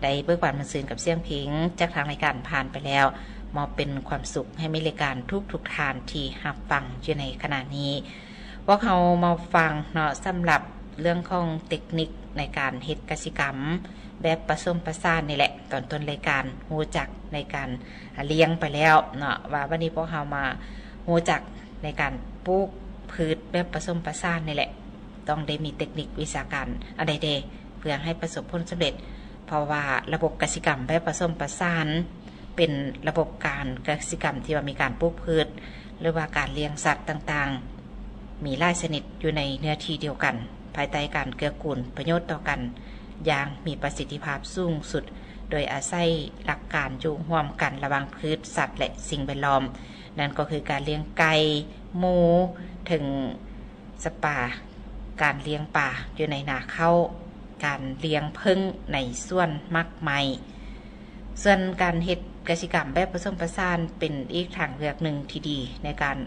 ໄດ້ເບີກບານມ່ວນຊື່ນກັບສຽງເພງຈາກທາງລາຍການຜ່ານໄປແລ້ວ ມອບເປັນຄວາມສຸກໃຫ້ແມ່ນລາຍການທຸກໆທ່ານທີ່ຮັບຟັງຢູ່ໃນຂະນະນີ້. ພວກເຮົາມາຟັງເນາະ ສຳລັບເລື່ອງຂອງເຕັກນິກໃນການເຮັດກະສິກຳແບບປະສົມປະສານນີ້ແຫຼະ. ຕອນຕົ້ນລາຍການຮູ້ຈັກໃນການລ້ຽງໄປແລ້ວເນາະ ວ່າບັດນີ້ພວກເຮົາມາຮູ້ຈັກໃນການປູກພືດແບບປະສົມປະສານນີ້ແຫຼະ. ຕ້ອງໄດ້ມີເຕັກນິກວິຊາການອັນໃດແດ່ ເພື່ອໃຫ້ປະສົບຜົນສຳເລັດ ເພາະວ່າລະບົບກະສິກຳແບບປະສົມປະສານ ເປັນລະບົບການກະສິກຳທີ່ວ່າມີການປູກພືດ ຫຼືວ່າການລ້ຽງສັດຕ່າງໆ ມີຫຼາຍຊະນິດຢູ່ໃນເນື້ອທີ່ດຽວກັນ ພາຍໃຕ້ການເກື້ອກູນປະໂຫຍດຕໍ່ກັນຢ່າງມີປະສິດທິພາບສູງສຸດ ໂດຍອາໄສຫຼັກການຢູ່ຮ່ວມກັນລະຫວ່າງພືດ, ສັດ ແລະ ສິ່ງແວດລ້ອມ. ນັ້ນກໍຄືການລ້ຽງໄກ່, ໝູ, ເຖິງ ສະປາ, ການລ້ຽງປາຢູ່ໃນນາເຂົ້າ, ການລ້ຽງເຜິ້ງໃນສວນໝາກໄມ້. ສ່ວນການເຮັດກະສິກຳແບບປະສົມປະສານເປັນອີກທາງເລືອກໜຶ່ງທີ່ດີໃນການ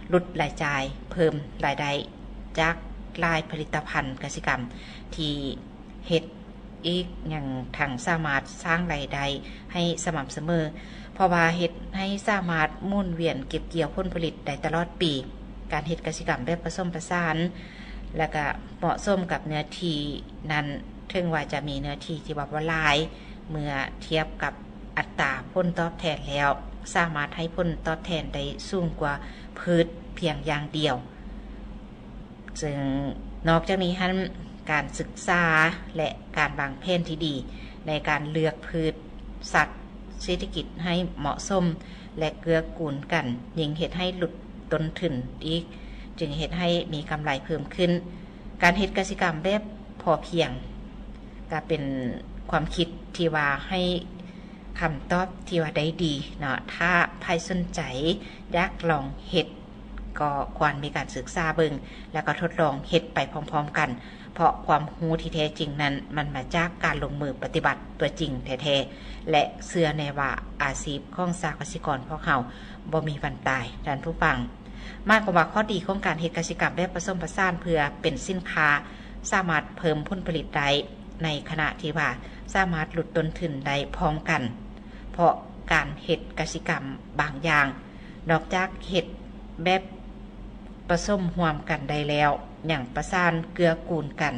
ຫຼຸດລາຍຈ່າຍ, ເພີ່ມລາຍໄດ້ຈາກຫຼາຍຜະລິດຕະພັນກະສິກຳທີ່ເຮັດ ອີກຍັງທັງສາມາດສ້າງລາຍໄດ້ໃຫ້ສະໝ່ຳສະເໝີ ເພາະວ່າເຮັດໃຫ້ສາມາດໝູນວຽນເກັບກ່ຽວຜົນຜະລິດໄດ້ຕະຫຼອດປີ. ການເຮັດກະສິກຳແບບປະສົມປະສານ ແລະ ກະເໝາະສົມກັບເນື້ອທີ່ນັ້ນ ເຖິງວ່າຈະມີເນື້ອທີ່ທີ່ວ່າບໍ່ຫຼາຍ ເມື່ອທຽບກັບອັດຕາຜົນຕອບແທນແລ້ວ ສາມາດໃຫ້ຜົນຕອບແທນໄດ້ສູງກວ່າພືດພຽງຢ່າງດຽວ. ເຊິ່ງນອກຈາກນີ້ຫັ້ນ ການສຶກສາ ແລະ ການວາງແຜນທີ່ດີໃນການເລືອກພືດ, ສັດ, ເສດຖະກິດໃຫ້ເໝາະສົມ ແລະ ເກື້ອກູນກັນ ຍິ່ງເຮັດໃຫ້ຫຼຸດຕົ້ນທຶນອີກ ຈຶ່ງເຮັດໃຫ້ມີກຳໄລເພີ່ມຂຶ້ນ. ການເຮັດກະສິກຳແບບພໍພຽງ ກະເປັນຄວາມຄິດທີ່ວ່າໃຫ້ຄຳຕອບທີ່ວ່າໄດ້ດີເນາະ. ຖ້າໃຜສົນໃຈຢາກລອງເຮັດ ກໍຄວນມີການສຶກສາເບິ່ງ ແລ້ວກໍທົດລອງເຮັດໄປພ້ອມໆກັນ ເພາະຄວາມຮູ້ທີ່ແທ້ຈິງນັ້ນ ມັນມາຈາກການລົງມືປະຕິບັດຕົວຈິງແທ້ໆ ແລະ ເຊື່ອແນ່ວ່າອາຊີບຂອງຊາວກະສິກອນພວກເຮົາບໍ່ມີວັນຕາຍ. ທ່ານຜູ້ຟັງ, ໝາຍຄວາມວ່າຂໍ້ດີຂອງການເຮັດກະສິກຳແບບປະສົມປະສານເພື່ອເປັນສິນຄ້າ ສາມາດເພີ່ມຜົນຜະລິດໄດ້ ໃນຂະນະທີ່ວ່າສາມາດຫຼຸດຕົ້ນທຶນໄດ້ພ້ອມກັນ ເພາະການເຮັດກະສິກຳບາງຢ່າງ ນອກຈາກເຮັດແບບປະສົມຮ່ວມກັນໄດ້ແລ້ວ ຍັງປະສານເກື້ອກູນກັນ.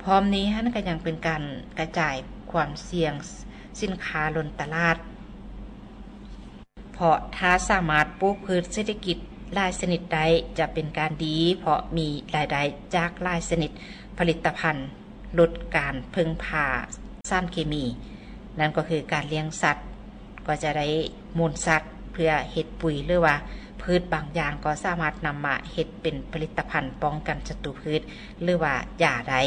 ພ້ອມນີ້ຫັ້ນກະຍັງເປັນການກະຈາຍຄວາມສ່ຽງສິນຄ້າລົ້ນຕະຫຼາດ ເພາະຖ້າສາມາດປູກພືດເສດຖະກິດຫຼາຍຊະນິດໄດ້ ຈະເປັນການດີ ເພາະມີລາຍໄດ້ຈາກຫຼາຍຊະນິດຜະລິດຕະພັນ ຫຼຸດການເພິ່ງພາສານເຄມີ. ນັ້ນກໍຄືການລ້ຽງສັດ ກໍຈະໄດ້ມູນສັດເພື່ອເຮັດປຸ໋ຍ ຫຼືວ່າພືດບາງຢ່າງກໍສາມາດນຳມາເຮັດເປັນຜະລິດຕະພັນປ້ອງກັນສັດຕູພືດ ຫຼືວ່າຢາໄດ້.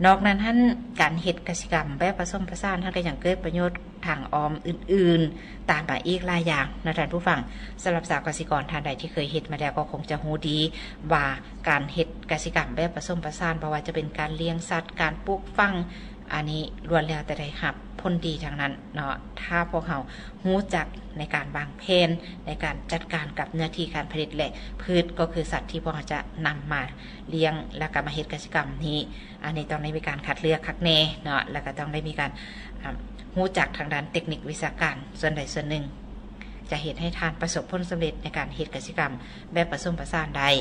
ນອກນັ້ນຫັ້ນ ການເຮັດກະສິກຳແບບປະສົມປະສານຫັ້ນ ກໍຍັງເກີດປະໂຫຍດທາງອ້ອມອື່ນໆຕາມມາອີກຫຼາຍຢ່າງເນາະທ່ານຜູ້ຟັງ. ສຳລັບຊາວກະສິກອນທ່ານໃດທີ່ເຄີຍເຮັດມາແລ້ວ ກໍຄົງຈະຮູ້ດີວ່າ ການເຮັດກະສິກຳແບບປະສົມປະສານ ບໍ່ວ່າຈະເປັນການລ້ຽງສັດ, ການປູກຝັງ ອັນນີ້ລ້ວນແລ້ວແຕ່ໄດ້ຮັບຜົນດີທັງນັ້ນເນາະ. ຖ້າພວກເຮົາຮູ້ຈັກໃນການວາງແຜນ ໃນການຈັດການກັບເນື້ອທີ່ການຜະລິດ ແລະ ພືດ ກໍຄືສັດທີ່ພວກເຮົາຈະນຳມາລ້ຽງ ແລ້ວກໍມາເຮັດກະສິກຳນີ້ ອັນນີ້ຕ້ອງໄດ້ມີການຄັດເລືອກຄັກແນ່ເນາະ ແລ້ວກໍຕ້ອງໄດ້ມີການ ອາ ຮູ້ຈັກທາງດ້ານເຕັກນິກວິຊາການສ່ວນໃດສ່ວນໜຶ່ງ ຈະເຮັດໃຫ້ທ່ານປະສົບຜົນສຳເລັດໃນການເຮັດກະສິກຳແບບປະສົມປະສານໄດ້.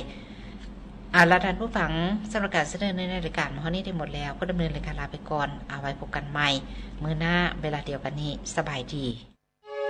ເອົາລະທ່ານຜູ້ຟັງ, ສຳລັບການສະເໜີໃນລາຍການມື້ນີ້ໄດ້ໝົດແລ້ວ, ຜູ້ດຳເນີນລາຍການລາໄປກ່ອນ. ເອົາໄວ້ພົບກັນໃໝ່ມື້ໜ້າເວລາດຽວກັນນີ້. ສະບາຍດີ.